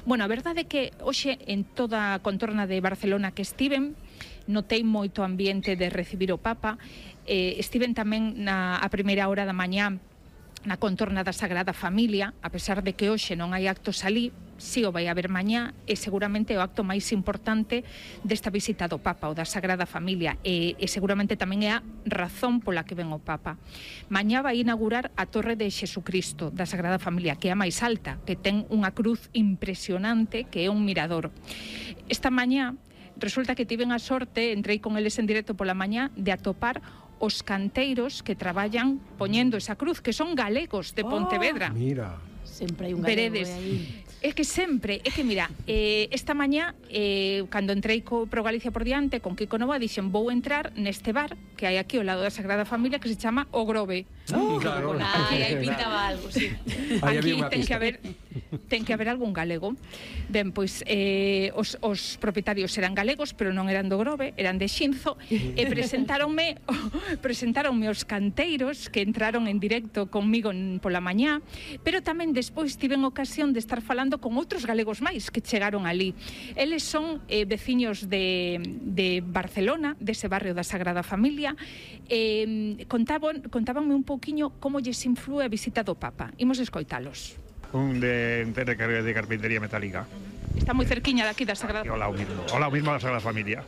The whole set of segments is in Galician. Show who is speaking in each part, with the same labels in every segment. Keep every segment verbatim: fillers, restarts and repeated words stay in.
Speaker 1: Bueno, a verdade é que hoxe en toda a contorna de Barcelona que estiven, notei moito ambiente de recibir o Papa. Eh, estiven tamén na a primeira hora da mañá na contorna da Sagrada Familia, a pesar de que hoxe non hai actos alí, si o vai haber mañá, e seguramente é o acto máis importante desta visita do Papa, o da Sagrada Familia, e, e seguramente tamén é a razón pola que ven o Papa. Mañá vai inaugurar a Torre de Xesucristo da Sagrada Familia, que é a máis alta, que ten unha cruz impresionante, que é un mirador. Esta mañá resulta que tiven a sorte, entrei con eles en directo pola mañá, de atopar os canteiros que traballan poñendo esa cruz, que son galegos de Pontevedra.
Speaker 2: Oh, mira.
Speaker 3: Sempre hai un galego aí.
Speaker 1: É que sempre, é que mira, eh, esta mañá, eh, cando entrei co Pro Galicia por diante, con Kiko Nova, dixen, vou entrar neste bar que hai aquí ao lado da Sagrada Familia, que se chama O Grove.
Speaker 2: Oh, claro.
Speaker 3: Ai, aí pintaba algo, sí.
Speaker 1: Aquí ten que haber ten que haber algún galego. Ben, pois eh, os, os propietarios eran galegos, pero non eran do Grove, eran de Xinzo, e presentáronme presentáronme os canteiros que entraron en directo conmigo en, pola mañá, pero tamén despois tiven ocasión de estar falando con outros galegos máis que chegaron ali. Eles son eh, veciños de, de Barcelona, dese barrio da Sagrada Familia. Eh, contaban, contábanme un pouquiño como lles inflúe a visita do Papa. Imos escoitalos.
Speaker 4: Un de, de, de carpintería metálica.
Speaker 1: Está moi cerquiña daqui da Sagrada
Speaker 4: Familia. Hola, o mismo. Hola, o mismo da Sagrada Familia.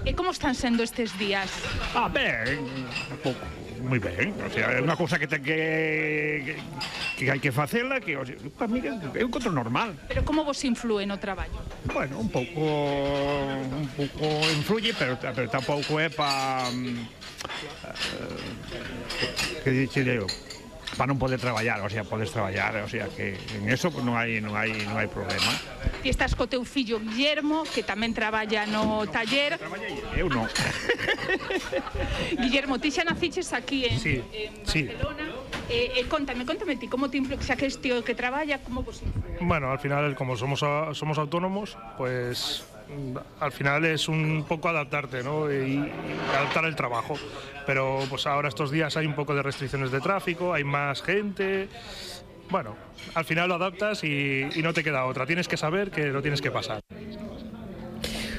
Speaker 1: E como están sendo estes días?
Speaker 4: Ah, ben, un pouco. Moi ben, o sea, é unha cousa que ten que que hai que facela, que, o sea, para mí é un control normal.
Speaker 1: Pero como vos inflúe no traballo?
Speaker 4: Bueno, un pouco un pouco influye, pero, pero tampouco é para uh, que dixe eu, para non poder traballar, o sea, podes traballar, o sea, que en eso pues, non hai non hai non hai problema.
Speaker 1: Ti estás co teu fillo Guillermo, que tamén traballa no taller.
Speaker 4: Eu non.
Speaker 1: Guillermo, ti xa naciches aquí en,
Speaker 4: sí,
Speaker 1: en
Speaker 4: sí.
Speaker 1: Barcelona. Eh, eh, contame, contame ti, como te influye, xa que es tío que traballa, como vos influye?
Speaker 5: Bueno, al final, como somos, somos autónomos, pues al final es un poco adaptarte, ¿no? Y, y adaptar el trabajo. Pero pues ahora estos días hay un poco de restricciones de tráfico, hay más gente. Bueno, al final lo adaptas y, y no te queda otra. Tienes que saber que lo tienes que pasar.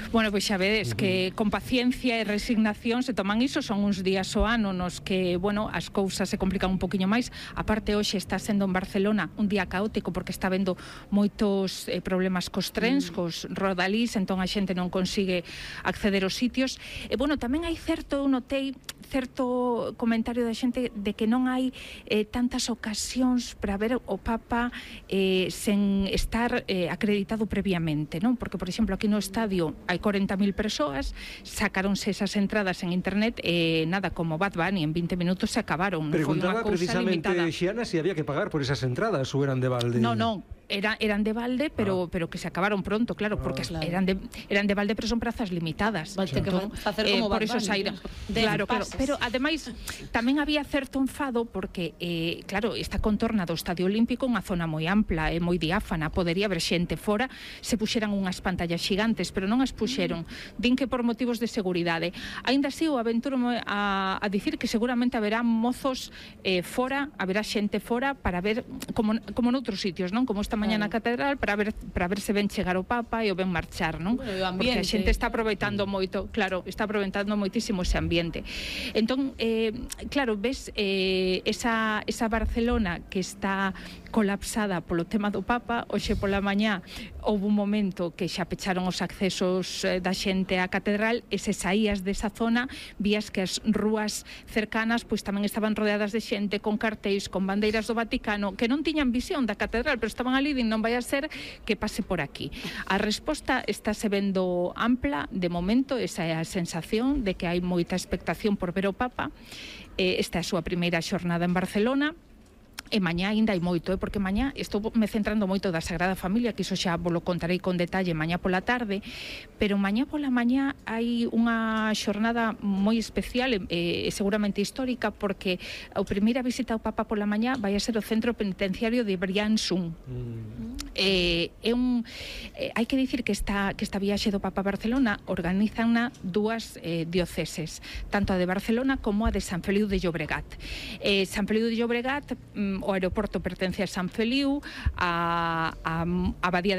Speaker 1: Bueno, pois xa vedes que con paciencia e resignación se toman iso, son uns días o ano nos que, bueno, as cousas se complican un poquinho máis. A parte hoxe está sendo en Barcelona un día caótico porque está vendo moitos eh, problemas cos trens, mm. cos rodalís, entón a xente non consigue acceder aos sitios. E, bueno, tamén hai certo, eu notei, certo comentario da xente de que non hai eh, tantas ocasións para ver o Papa eh, sen estar eh, acreditado previamente, non? Porque, por exemplo, aquí no estadio hai corenta mil persoas, sacáronse esas entradas en internet e eh, nada, como Bad Bunny, en veinte minutos se acabaron.
Speaker 2: Preguntaba precisamente, Xiana, si había que pagar por esas entradas ou eran de balde.
Speaker 1: No, no. Era, eran de balde, pero ah. pero que se acabaron pronto, claro, porque ah, claro. eran de eran de balde, pero son prazas limitadas.
Speaker 3: Valte que facer como
Speaker 1: eh, por eso saíron. Claro, claro, pero ademais tamén había certo enfado porque eh, claro, esta contorna do Estadio Olímpico é unha zona moi ampla e moi diáfana, podería haber xente fora, se puxeran unhas pantallas xigantes, pero non as puxeron. Mm. Din que por motivos de seguridade. Aínda así, o aventuro a, a dicir que seguramente haberá mozos eh, fora, haberá xente fora para ver como como noutros sitios, non? Como esta mañá na catedral para ver para ver se ven chegar o Papa e o ven marchar, non?
Speaker 3: Bueno,
Speaker 1: porque a xente está aproveitando moito, claro, está aproveitando moitísimo ese ambiente. Entón, eh, claro, ves eh, esa, esa Barcelona que está colapsada polo tema do Papa, hoxe pola mañá houve un momento que xa pecharon os accesos eh, da xente á catedral e se saías desa zona vías que as rúas cercanas pois tamén estaban rodeadas de xente con cartéis, con bandeiras do Vaticano que non tiñan visión da catedral, pero estaban ali e non vai a ser que pase por aquí. A resposta está se vendo ampla de momento, esa é a sensación de que hai moita expectación por ver o Papa. Eh, esta é a súa primeira xornada en Barcelona. E mañá ainda hai moito, eh? Porque mañá estou me centrando moito da Sagrada Familia, que iso xa vos lo contarei con detalle mañá pola tarde, pero mañá pola mañá hai unha xornada moi especial e eh, seguramente histórica, porque a primeira visita ao Papa pola mañá vai a ser o centro penitenciario de Briançon. Mm. Eh, é un eh, hai que dicir que esta que esta viaxe do Papa a Barcelona organizanna dúas eh, dioceses, tanto a de Barcelona como a de Sant Feliu de Llobregat. Eh, Sant Feliu de Llobregat mm, o aeroporto pertence a Sant Feliu, a, a, a Abadía de